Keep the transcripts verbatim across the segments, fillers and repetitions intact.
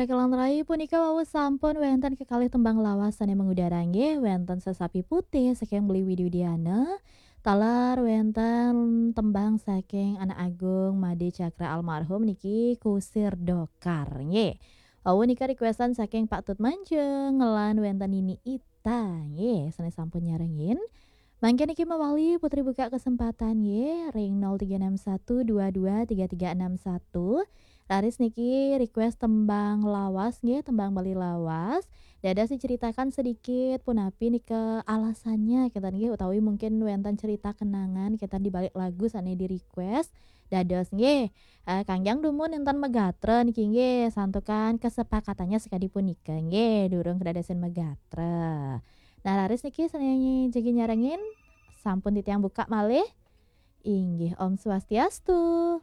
Kakelan rai punika wau sampun wénten kekalih tembang lawas sané mengudara nggih, wénten Sesapi Putih saking Beli Widiana, taler wénten tembang saking Anak Agung Made Cakra almarhum niki Kusir Dokar nggih. Wau nika requestan saking Pak Tut Manjung lan wénten Nini Ita nggih, sané sampun nyarengin. Mangkin niki mawali Putri buka kesempatan nggih ring nol tiga enam satu dua dua tiga tiga enam satu. Raris niki request tembang lawas nggih, tembang Bali lawas. Dados diceritakan sedikit punapi nika alasannya kita nggih, utawi mungkin wénten cerita kenangan kita di balik lagu sané di-request. Dados nggih, eh, kangjang dumun nénten magatra niki nggih, santukan kesepakatannya sekadi punika nggih, durung kedadosan magatra. Nah, raris niki sané jagi nyarengin, sampun titiang buka malih. Inggih, Om Swastiastu.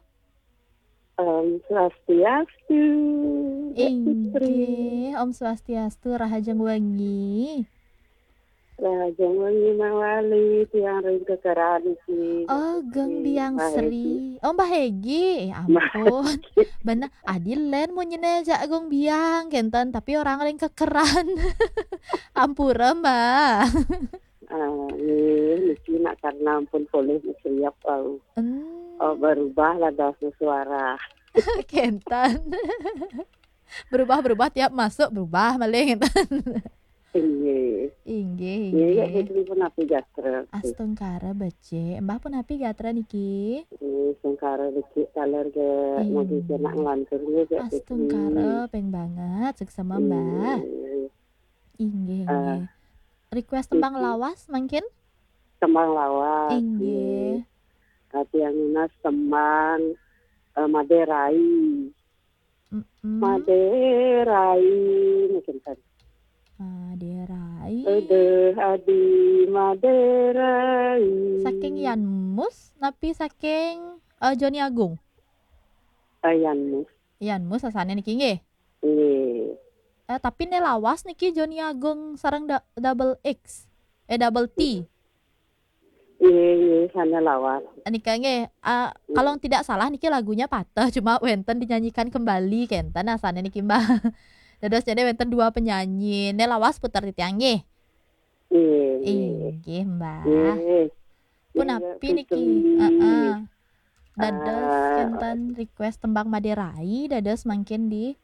Om Swastiastu, Mbak Putri. Inggih, Om Swastiastu, rahajeng wengi. Rahajeng wengi mawali, tiang ring kekeran iki. Oh, Geng Biang Sri. Oh, Mbah Hegi. Eh, ampun. Bener, adi lén munyine jak Gong Biang, kenten, tapi orang ring kekeran. Ampura, Mbah. Ah, nggih, niki nak karena ampun polih mesriap wau. Hmm. Oh, berubah lah dasa suara. Kenten. Berubah-berubah tiap masuk, berubah malih, kenten. Inggih. Inggih, inggih. Inggih, ya, punapi gatra. Astungkara becik. Mbah punapi gatra niki? Inggih, astungkara becik taler nggih. Inggih. Mugi kena nglantur nggih, Mbak Putri. Astungkara ping banget, suksema, Mbah. Inggih. Inggih, ah, inggih. Request tembang lawas mangkin? Tembang lawas, inggih. Inggih. Tapi yang nunas tembang, eh, Maderai. Mm-mm. Maderai, mungkin kan. Maderai. Ede adi Maderai. Saking Yanmus, napi saking, eh, Joni Agung? Eh, Yanmus. Yanmus asalnya niki nggih? Nggih. Eh, tapi né lawas niki Joni Agung sareng da-, double X. Eh, double T. Nggih, nggih, sané lawas. Nika nggih, ah, hmm, kalau tidak salah niki lagunya patah, cuma wénten dinyanyikan kembali, kenten asalnya niki, Mbah. Dados jadi wénten dua penyanyi. Né lawas puter titiang nggih. Nggih, nggih. Inggih, Mbah. Nggih. Punapi niki? Nggih, Putri. Heeh. Dados, ah, kenten request tembang Maderai, dados mangkin di.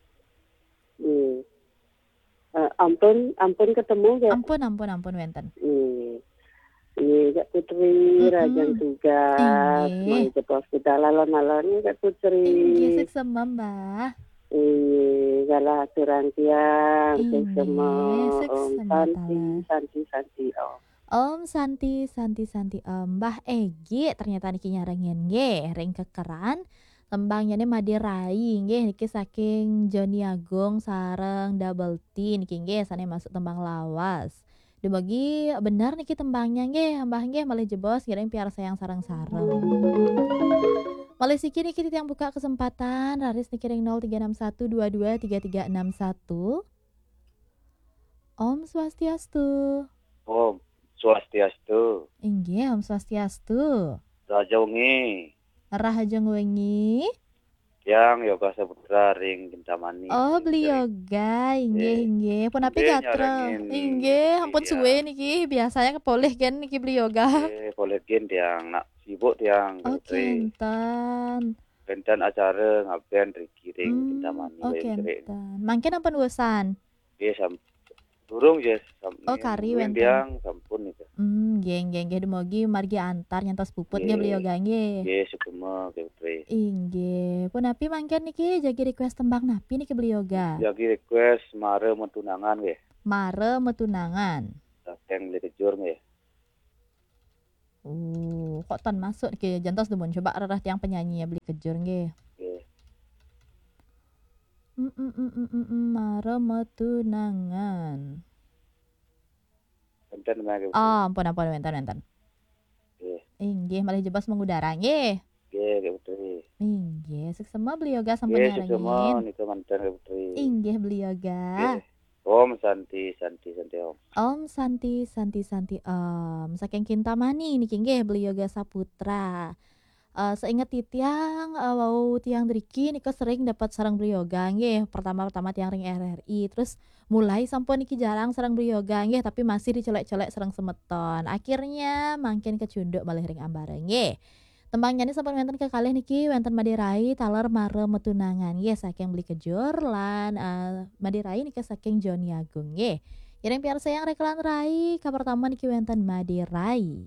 Nggih. Eh, ampun, ampun ketemu, ya. Ampun, ampun, ampun, wénten. Nggih. Nggih, Kak Putri, mm-mm, rahajeng tugas. Inggih. Mangke jebos kita alon-alon, Kak Putri. Inggih, suksema, Mbah. Inggih, galah aturang tiang, suksema. Inggih, suksema. Om Santi, taler. Santi, Santi, Om. Om Santi, Santi, Santi, Om. Mbah Egi ternyata niki nyarengin nggih, ring kekeran. Tembangnya nih Maderai nggih, niki saking Joni Agung sareng Double T niki nggih, sané masuk tembang lawas. Dumugi bener niki tembangnya nggih, Mbah nggih, malih jebos ngiring piarsayang sareng-sareng. Malih siki niki titiang buka kesempatan, raris niki ring nol tiga enam satu dua dua tiga tiga enam satu. Om Swastiastu. Om Swastiastu. Inggih, Om Swastiastu. Raja wengi. Rahajeng wengi. Tiang Yoga Saputra ring Kintamani. Oh, Beli Yoga, inggih, inggih. Punapi gatra? Inggih, ampun suwe niki. Biasanya kepolih gen niki Beli Yoga. Nggih, polih gen tiang nak sibuk tiang. Oh, kenten. Kenten acara ngaben riki ring Kintamani. Hmm, oh, kenten. Mangkin ampun wusan. Nggih, sam-, durung, nggih, sam-, oh, kari wénten. Tiang sampun niku. Hmm, nggih, nggih, nggih, dumugi margi antar nyantos puput nggih, Beli Yoga, nggih. Nggih, suksema, nggih, Putri. Inggih. Punapi mangkin niki jagi request tembang napi niki Beli Yoga? Jagi request Mara Metunangan, nggih. Mara Metunangan. Saking Beli Kejur, nggih. Oh, kok tan masuk niki, jantos dumun coba rereh tiang penyanyi ya Beli Kejur nggih. Nggih. Mm, mm, mm, mm, mm, mm, Mara Metunangan. Wénten, Mbak, nggih. Oh, ampun, ampun, wénten, wénten. Nggih. Inggih, malih jebos mengudara nggih. Nggih, nggih, Putri. Inggih, suksema Beli Yoga sampun nyarengin. Nggih, suksema nika manten, nggih, Putri. Inggih, Beli Yoga. Nggih. Om Santi, Santi, Santi, Om. Om Santi, Santi, Santi, Om. Saking Kintamani niki nggih, Beli Yoga Saputra. Eh, seinget titiang, eh, wau tiang driki nika sering dapat sareng Beli Yoga nggih. Pertama-pertama tiang ring R R I, terus mulai sampun niki jarang sareng Beli Yoga nggih, tapi masih dicolek-colek sareng semeton. Akhirnya mangkin kacunduk malih ring ambara nggih. Tembangnya ini sampun wenten kekalih niki, wenten Made Rai taler Mara Metunangan nggih, saking Beli Kejur lan, eh, Made Rai nika saking Joni Agung nggih. Iring piarsayang Rekelan Rai, kapertama niki wenten Made Rai.